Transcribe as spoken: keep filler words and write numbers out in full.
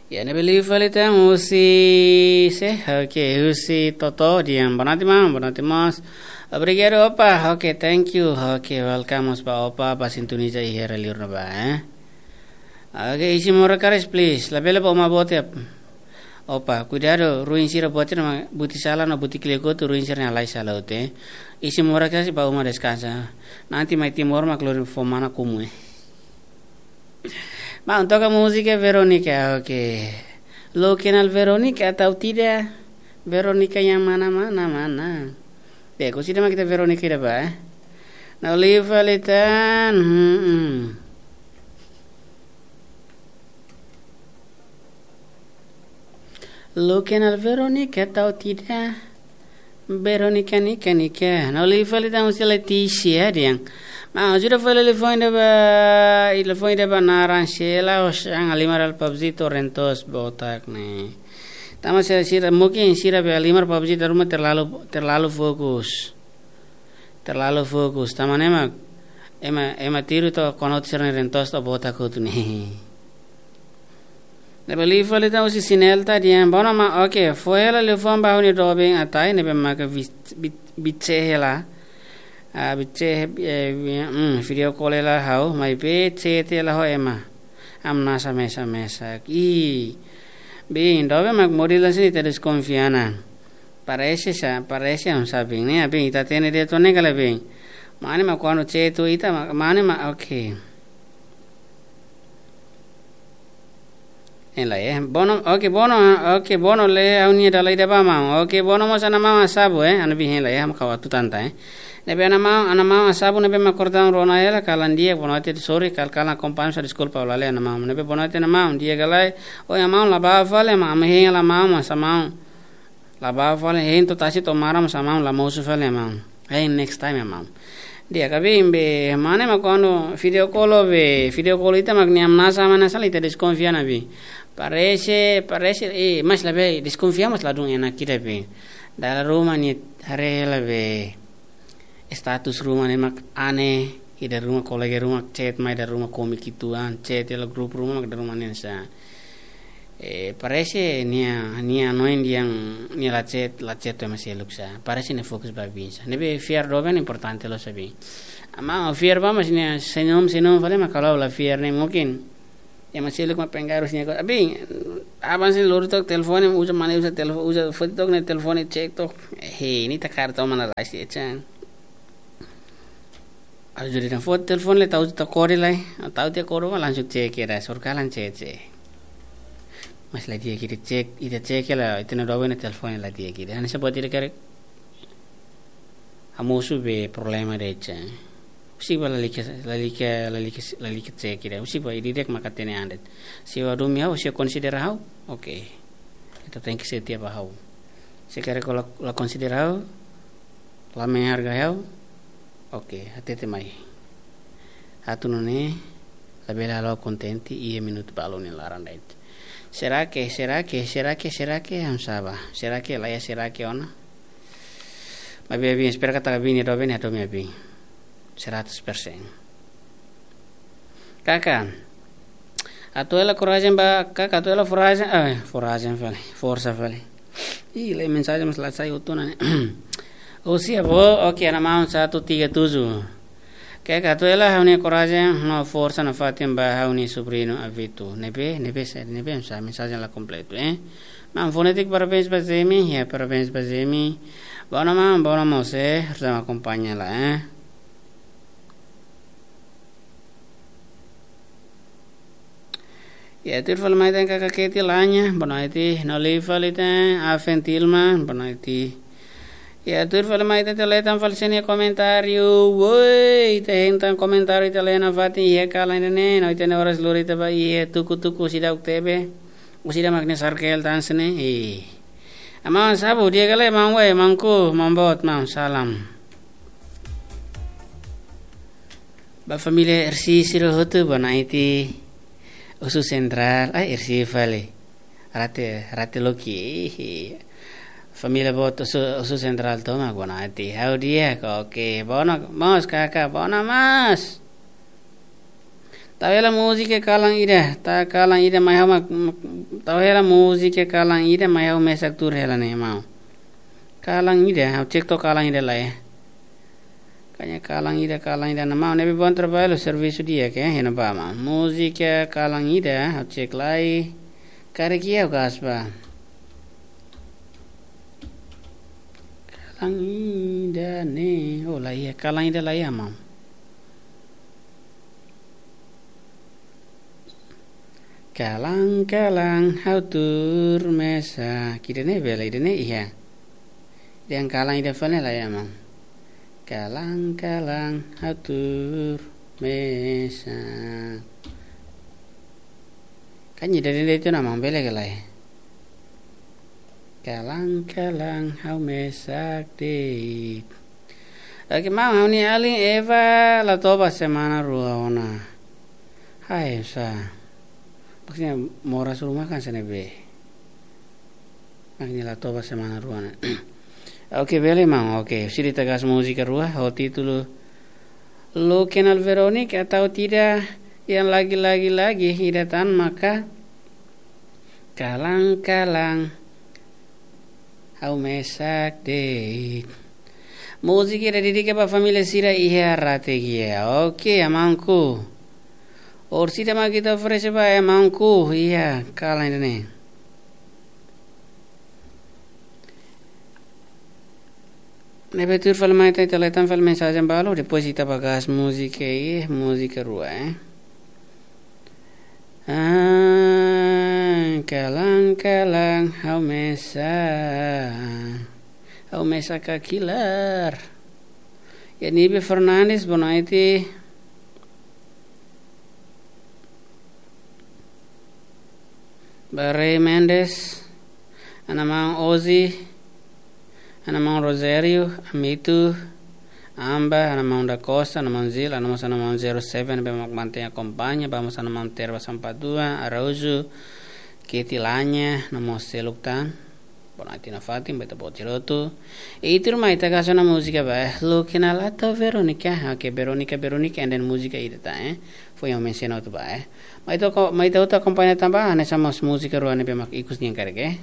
Ya, ne'ebé liu fali tan husi sé, oke, husi Toto dehan boa noite maun, boa noite mós. Obrigadu, opa, oke, thank you, oke, welcome mós ba opa, ba sintoniza iha rai liur ne'ebá, eh. Oke, isin moras karik, please, labele ba uma boot ya. Opa, kuidadu, ruin sira boot sira mak buti sala no buti klikotu, ruin sira-nia halai sala hotu, eh. Isin moras karik ba uma deskansa. Nanti mai Timor mak lori fó mana kumu, eh. Maun, toka múzika Verónica, oke. Lo kenal Verónica atau tidak? Verónica yang mana, mana, mana? Deh, kau sida mak ita Verónica ida ba, eh? Nah, liu fali tan, hmm, hmm. Lo kenal Verónica atau tidak? Verónica nia, nia, nia. Nah, liu fali tan husi Letícia dehan. Maun, ajuda fali liafuan ida ba, liafuan ida ba naran Sheila, Oxan, Alimar, Alpabzito, Rentos, Botak ne'e. Tanba sira, sira, mungkin sira be Alimar, Alpabzito ruma terlalu, terlalu fokus. Terlalu fokus. Tanba ne'e mak, ema, ema tiru to'o konot sira-nia Rentos to'o Botak hotu ne'e. Ne'ebé liu fali tan husi Sinelta dehan, bono ma, oke, fó hela liafuan ba ha'u-nia doben Atai, ne'ebé maka bi-, bi-, bice hela. Ah, bice, eh, bi-, hmm, video call hela ha'u, maibé chat hela ho ema. Hamnasa mesak-mesak. Ih, bin, doben mak model hanesan ne'e ita deskonfia ona. Parese sa, parese hamnasa bin, ne'e, bin, ita hatene de'it ona kala bin. Mane mak kuandu chat ho ita, ma-, mane mak, oke. Hein lai, eh. Bono, oke, bono, oke, bono lee ha'u-nia dala ida ba maun. Oke, bono mós ana maun Asabu, eh. Ana bin hein lai, eh. Ha'u mak ha'u atu tanta, eh. Ne'ebé ana maun, ana maun Asabu ne'ebé mak kortaun rona hela, kalan di'ak, bono ati sorry, kal-, kalan akompaña, sa deskulpa, ha'u la lee ana maun. Ne'ebé bono ati ana maun, di'ak ka lae, oi, ana maun, la ba fali, ma, ami hein la maun, masa maun. La ba fali, hein to'o tasi to'o maran, masa maun, la mosu fali, maun. Hein next time, maun. Di'ak ka bin be, mane mak kuandu video call be, video call ita mak nia hamnasa, hamnasa la ita deskonfia ona be. Parese, parese, eh, mas labele deskonfia mas ladún enak ida be. Dala ruma nia haree hela be. Status ruma ne'e mak aat, ida ruma kolega ruma chat mai, ida ruma komik uitoan, chat hela grupu ruma mak ida ruma ne'e sa. Eh, parese nia, nia hanoin dehan nia la chat, la chat ho ema seluk sa. Parese nia fokus ba bin sa. Ne'ebé fiar doben importante loos sa bin. Maun, fiar ba mas nia senyum, senyum fali mak kalau la fiar ne'e mungkin. Ema seluk mak pengaruh nia ko. Abin, aban sin lori took telefone, uza mane uza telefone, uza foti took ne'e telefone cek took. He, ne'e ita kaer toman la rai si echan. Ajuda nia foti telefone lai, tau ta kore lai, tau tiha kore mak langsung cek ida, surkalan cek cek. Mas la di'ak ida cek, ida cek hela, ita-nia doben nia telefone la di'ak ida. Hanesan buat ida karik hamosu be problema de'it. Husik ba lalika, lalika, lalika, lalika cek ida. Husik ba ida-idak mak hatene an de'it. Se ha'u hadomi ha'u, se konsidera ha'u, oke. Ita tenke setia ba ha'u. Se karik la, la konsidera ha'u, la menghargai ha'u, oke, hatete mai. Atu nune'e, labele halo kontente iha minutu balu nia laran de'it. Será que, será que, será que, será que, hamnasa ba. Será que, la iha será que ona. Maibé bin, espera katak bin nia doben nia hadomi abin. Seratus persen. Kaka. Atu hela korajen ba, kaka, atu hela korajen, eh, korajen fali, forsa fali. Ih, lee mensajen mas la sai hotu ona ne'e. Husi Avó, oke, ana maun satu tiga tujuh. Kaka, atu hela ha'u-nia korajen no forsa nafatin ba ha'u-nia sobriñu Avito. Ne'ebé, ne'ebé sa, ne'ebé sa, mensajen la kompletu, eh. Maun Fonetik, parabéns ba Zemi, ya, parabéns ba Zemi. Bono maun, bono mós, eh, sama akompaña lai, eh. Ya, tuir fali mai tan kaka Keti Lanya, boa noite. No liu fali tan, Afen Tilma, boa noite. Ya, tuir fali mai tan, ita lee tan fali sira-nia komentáriu. Woi, ita hein tan komentáriu, ita lee nafatin iha kalan ida-ne'e, no ita-nia oras lori ita ba iha tuku-tuku seidauk tebe. Usida mak nia sarkel tan sini. Ih. Aman sabu, di'ak ka lae, maun wai, maun ku, maun boot, maun salam. Ba família Ersi sira hotu, boa noite. Osu Sentrál, ai, Ersi fali. Rate, rate loki, ih. Família boot Osu, Osu Sentrál tomak, boa noite. Ha'u di'ak, oke. Bono, mós, kaka, bono, mós. Tau hela múzika kalan ida, ta kalan ida mai ha'u mak, mak, Tau hela múzika kalan ida, mai ha'u mesak tuur hela ne'e, maun. Kalan ida, ha'u cek to'o kalan ida lai. Kalan ida, kalan ida, ne'e maun, ne'ebé bom traballu, servisu di'ak, eh, hena ba maun. Múzika kalan ida, ha'u cek lai. Karik iha ha'u gas ba. Kalan ida ne'e, oh, laiha, kalan ida laiha, maun. Kalan, kalan, ha'u tuur mesak. Ida-ne'e bele, ida-ne'e iha. Dehan kalan ida fali laiha, maun. Kalan, kalan, ha'u tuur mesak. Kan ida-ne'e de'it ona, maun, bele ka lae. Kalan, kalan, ha'u mesak de'it. Oke, maun, ha'u-nia alin Eva la toba semana rua ona. Hai, sa. Maksudnya, moras ruma kan sene be. Maksudnya, la toba semana rua ona. Oke, bele, maun. Oke, sira ita gas múzika rua, ho títulu Lo que no Verónica, atau tidak, yang lagi-lagi lagi, ida tan maka. Kalan, kalan, ha'u mesak de'it. Múzika ida dedika ba família sira iha Rategia. Oke, amanku. Orsida mak ita oferese ba amanku iha kalan ida-ne'e. Ne'ebé tuur fali mai ita, ita leten fali mensajen balu, depois ita ba gas múzika i, múzika rua, eh. Ah, kalan, kalan, ha'u mesak. Ha'u mesak ka kilar. Ya, Nibe Fernandes, boa noite. Barei Mendes, ana maun Ozi, ana maun Rosério, Amitu, Amba, ana maun da Costa, ana maun Zil, ana maun, ana maun zero seven, be mak mantenha akompaña, vamos ana maun Terva Sampadua, Araújo, Keti Lanya, ana maun seluk tan. Boa noite nafatin, beta bot jerotu. I tuur mai ita gas ona múzika ba, eh. Lo que no la to Verónica. Oke, Verónica, Verónica, and then múzika ida tan, eh. Foin ha'u mensiona hotu ba, eh. Mai ita ko-, mai ita hotu akompaña tanba, hanesan mós múzika rua ne'ebé mak ikus nian karik, eh.